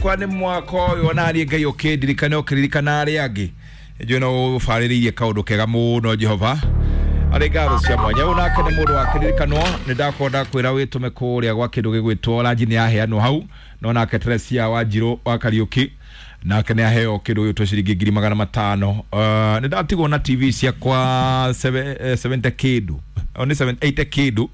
Kwa nĩ mwaka ũyũ ona niĩ Ngai ũkĩndirikane ũkĩririkana arĩa angĩ. Njũĩ no ũbarĩrĩirie kaũndũ kega mũno Jehova. Arĩ ngatho cia mwanya. Ũyũ nake nĩ mũndũ wakĩririkanwo, nĩ ndakorwo ndakwĩra wĩtũme kũrĩa gwa kĩndũ gĩgwĩtwo ranji nĩ yaheanwo hau. No nake Teresia Wanjirũ wa Kariũki nake nĩ aheo kĩndũ gĩgwĩtwo ciringi 500,000. Nĩ ndatigwo na TV ciakwa 70 kĩndũ. O nĩ 80 kĩndũ.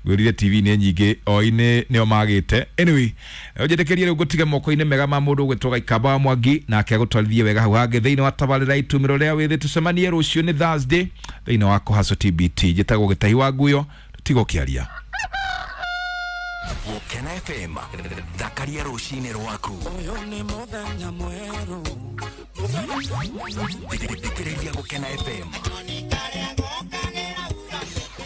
Ngwĩrire TV nĩ nyingĩ o-inĩ nĩo magĩte. Anyway, ũnjĩtĩkĩrie rĩu ngũtige moko-inĩ mega ma mũndũ ũgwĩtwo Gaikamba wa Mwangi, nake agũtwarithie wega hau hangĩ thĩinĩ wa tabarĩra itumĩro rĩa wĩthĩ. Tũcemanie rũciũ nĩ Thursday thĩinĩ wa Kũhaco TBT. Njĩtagwo Gĩtahi wa Nguyo, tiga ũkĩaria. Gũkena FM, thakaria rũcinĩ rwaku. Ũyũ nĩ mũthenya mwerũ. Thikĩrĩria Gũkena FM.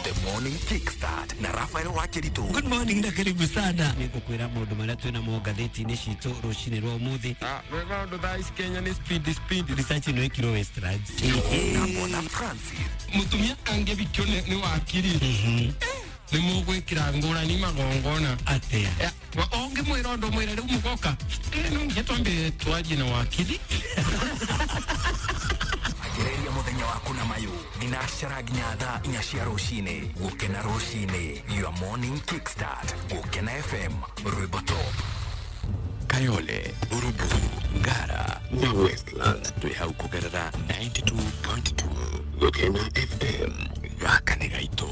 The Morning Kickstart na Rafael Wakiritu. Good morning na karibu sana. Nĩngũkwĩra maũndũ marĩa twĩna mo ngathĩti-inĩ citũ rũcinĩ rwa ũmũthĩ. Maũndũ thaa ici Kenya nĩ speed speed. Research ĩno ĩkirwo Westlands. Na Bwana Francis. Mũtumia angĩthikio nĩ wakiri. Nĩ mũgwĩkĩra ngũrani magongona. Atĩa? Ũngĩmwĩra ũndũ mwĩre rĩu mũgoka. No nginya twambe twarie na wakiri. Anjĩrĩria mũthenya waku na mayũ thinacara nginya thaa 4 cia rũcinĩ. Gũkena rũcinĩ, your morning kickstart. Gũkena FM, rwĩmbo top. Kayole, Buruburu, Ngara na Westlands twĩ hau kũgerera 92.2 Gũkena FM. Gaka nĩ gaitũ.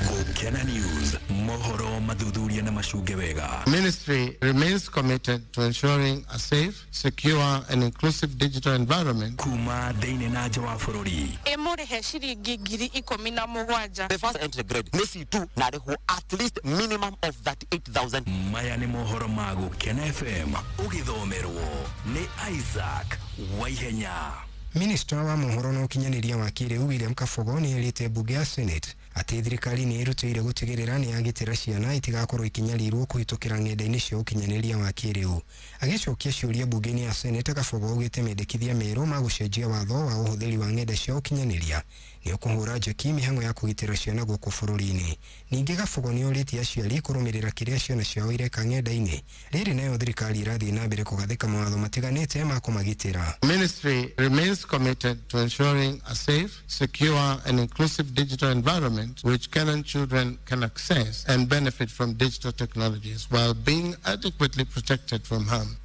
Gũkena News, mohoro mathuthuria na macunge wega. Ministry remains committed to ensuring a safe, secure and inclusive digital environment. Kuma thĩinĩ na nja wa bũrũri. Ĩmũrĩhe ciringi 17,000. The first entry grade nĩ C2 na arĩhwo at least minimum of 38,000. Maya nĩ mohoro ma Gũkena FM, ũgĩthomerwo nĩ Isaac Waihenya. Minista wa mohoro na ũkinyanĩria wa kĩrĩu William Kabogo nĩ erĩte mbunge ya Senate atĩ thirikari nĩ ĩrutĩire gũtigĩrĩra nĩ yagitĩra ciana itigakorwo ikinyarirwo kũhĩtũkĩra ng'enda-inĩ cia ũkinyanĩria wa kĩrĩu. Agĩcokia ciũria mbunge-inĩ ya Senate, Kabogo augĩte mendekithia merũ ma gũcenjia watho wa ũhũthĩri wa ng'enda cia ũkinyanĩria nĩ ũkũhũra njeki mĩhang'o ya kũgitĩra ciana gũkũ bũrũri-inĩ. Ningĩ Kabogo nĩ orĩtie aciari kũrũmĩrĩra kĩrĩa ciana ciao ireka ng'enda-inĩ. Rĩrĩ nayo thirikari ĩrathiĩ na mbere kũgathĩka mawatho matiganĩte ma kũmagitĩra. Ministry remains committed to ensuring a safe, secure and inclusive digital environment which Kenyan children can access and benefit from digital technologies while being adequately protected from harm.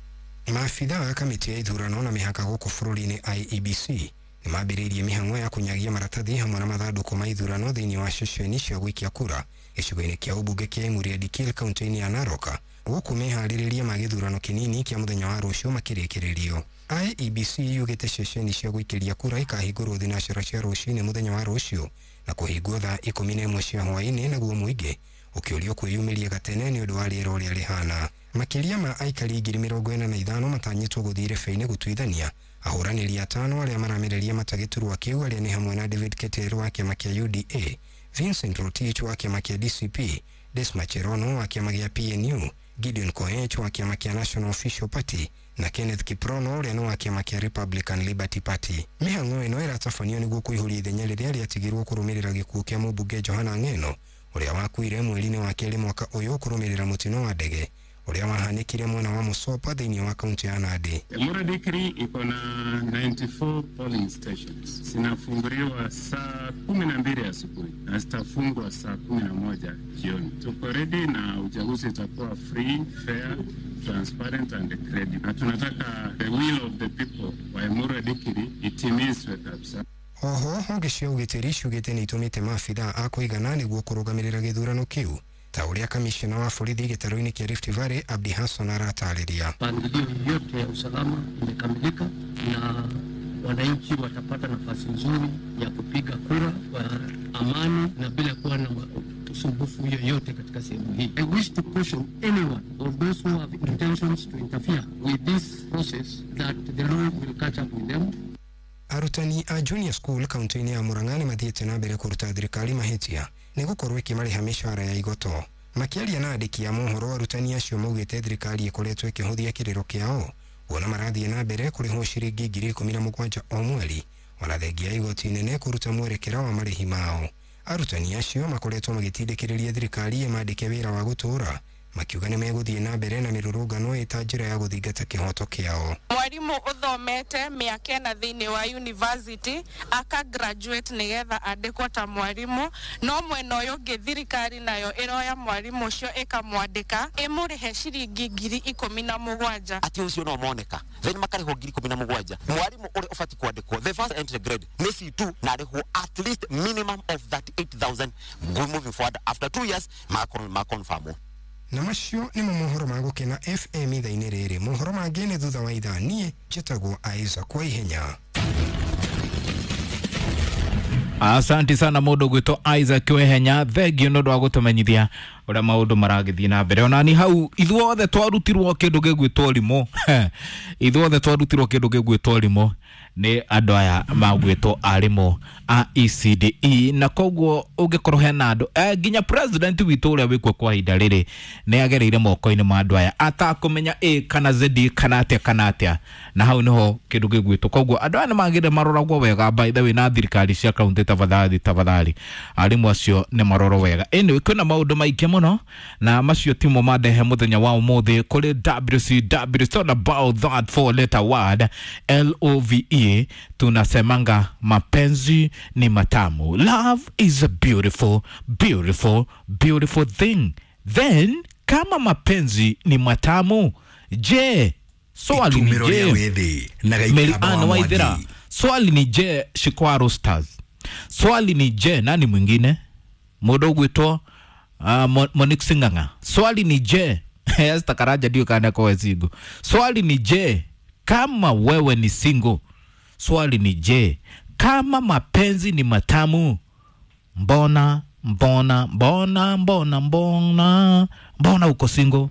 Maabitha a kamĩtĩ ya ithurano na mĩhaka gũkũ bũrũri-inĩ IEBC nĩ mambĩrĩirie mĩhang'o ya kũnyagia maratathi hamwe na mathandũkũ ma ithurano thĩinĩ wa ceceni cia gũikia kura gĩcigo-inĩ kĩa ũmbunge kĩa Emurua Dikirr kaunti-inĩ ya Narok, gũkũ meharĩrĩria ma gĩthurano kĩnini kĩa mũthenya wa rũciũ makĩrĩkĩrĩrio. IEBC yugĩte ceceni cia gũikĩria kura ikahingũrwo thinacara cia rũcinĩ mũthenya wa rũciũ na kũhingwo thaa 11 cia hwaĩ-inĩ, naguo mũingĩ ũkĩũrio kwĩyumĩria gatene nĩ ũndũ wa rĩera ũrĩa rĩhana. Makĩria ma aikari 45,000 matanyĩtwo gũthiĩ irebe-inĩ gũtuithania ahũranĩri atano arĩa maramereria matagĩturwa kĩu, arĩa nĩ hamwe na David Keter wa kĩama kĩa UDA, Vincent Rotich wa kĩama kĩa DCP, Desma Cherono wa kĩama gĩa PNU, Gideon Koech wa kĩama kĩa National Official Party na Kenneth Kiprono ũrĩa nĩ wa kĩama kĩa Republican Liberty Party. Mĩhang'o ĩno ĩratabanio nĩguo kũihũria ithenya rĩrĩa rĩatigirwo kũrũmĩrĩra gĩkuũ kĩa mũmbunge Johana Ng'eno ũrĩa wakuire mweri-inĩ wa kerĩ mwaka ũyũ kũrũmĩrĩra mũtino wa ndege ũrĩa wahanĩkire mwena wa Musopa thĩinĩ wa kaunti ya Nandi. Emurua Dikirr iko na 94 polling stations. Zinafunguliwa saa 12 asubuhi na zitafungwa saa 11 jioni. Tuko ready na uchaguzi itakuwa free, fair, transparent and credible. Na tunataka the will of the people wa Emurua Dikirr itimizwe kabisa. Oho, honge cia ũgitĩri ciugĩte nĩ itũmĩte maabithaa a kũigana nĩguo kũrũgamĩrĩra gĩthurano kĩu, ta ũrĩa kamishna wa borithi gĩtarũ-inĩ kĩa Rift Valley Abdi Hassan aratarĩria. Mpangilio yote ya usalama imekamilika na wananchi watapata nafasi nzuri ya kupiga kura kwa amani na bila kuwa na usumbufu yoyote katika sehemu hii. I wish to caution anyone or those who have intentions to interfere with this process that the law will catch up with them. Arutani a junior school kaunti-inĩ ya Murang'a nĩ mathiĩte na mbere kũruta thirikari mahĩtia nĩ gũkorwo ĩkĩmarĩha mĩcara ya igoto. Makĩaria na andĩki a mohoro, arutani acio maugĩte thirikari ĩkoretwo ĩkĩhũthia kĩrĩro kĩao kuona marathiĩ na mbere kũrĩhwo ciringi 17,000 o mweri, ona thengia ya igoti inene kũruta mwerekera wa marĩhi mao. Arutani acio makoretwo magĩtindĩkĩrĩria thirikari ĩmandĩke wĩra wa gũtũũra Makiuga nĩ megũthiĩ na mbere na mĩrũrũngano ĩta njĩra ya gũthingata kĩhoto kĩao. Mwarimu uthomete mĩaka ĩna thĩinĩ wa university aka graduate nĩgetha andĩkwo ta mwarimu, no mwena ũyũ ũngĩ thirikari nayo ĩroya mwarimu ũcio ĩkamwandĩka ĩmũrĩhe ciringi 17,000. Ati ucio no moneka then makarĩhwo 17,000. Mwarimu ũrĩa ũbatiĩ kwandĩkwo the first entry grade nĩ C2 na arĩhwo at least minimum of 38,000 moving forward after 2 years makonfirmwo. Na macio nĩmo mohoro ma Gũkena FM ithaa-inĩ rĩrĩ. Mohoro mangĩ nĩ thutha wa ithaa. Niĩ njĩtagwo Isaac Waihenya. Asante sana mundu gwitwo Isaac Wehenya, thengio nĩ ũndũ wa gũtũmenyithia ũrĩa maũndũ maragĩthiĩ na mbere. Ona ni hau ithuothe twarutirwo kĩndũ gĩgwĩtwo rimũ ithuothe twarutirwo kĩndũ gĩgwĩtwo rimũ nĩ andũ aya magwĩtwo arimũ a ECDE, na koguo ũngĩkorwo hena andũ nginya president witũ ũrĩa wĩkuo kwa ihinda rĩrĩ nĩ agereire moko-inĩ ma andũ aya atakũmenya A kana Z kana atĩa kana atĩa, na hau nĩho kĩndũ gĩgwĩtwo. Koguo andũ aya nĩ magĩrĩire maroragwo wega by the way na thirikari cia kaunti, tafadhali tafadhali arimũ acio nĩ marorwo wega. Anyway, kwĩna maũndũ maingĩ mũno na macio timo mandehe mũthenya wa ũmũthĩ kũrĩ WCW. It's all about that four letter word LOVE. Tunasemanga mapenzi ni matamu. Love is a beautiful, beautiful, beautiful thing. Then kama mapenzi ni matamu, je, swali ni je, Mary Ann Waithera, swali ni je, Shikwaro Stars, swali ni je, nani mwingine mũndũ ũgwĩtwo Monique Sing'ang'a, swali ni je, Esther Karanja ndio kana kwa single, swali ni je, kama wewe ni single, swali ni je, kama mapenzi ni matamu, mbona mbona mbona mbona mbona mbona uko single?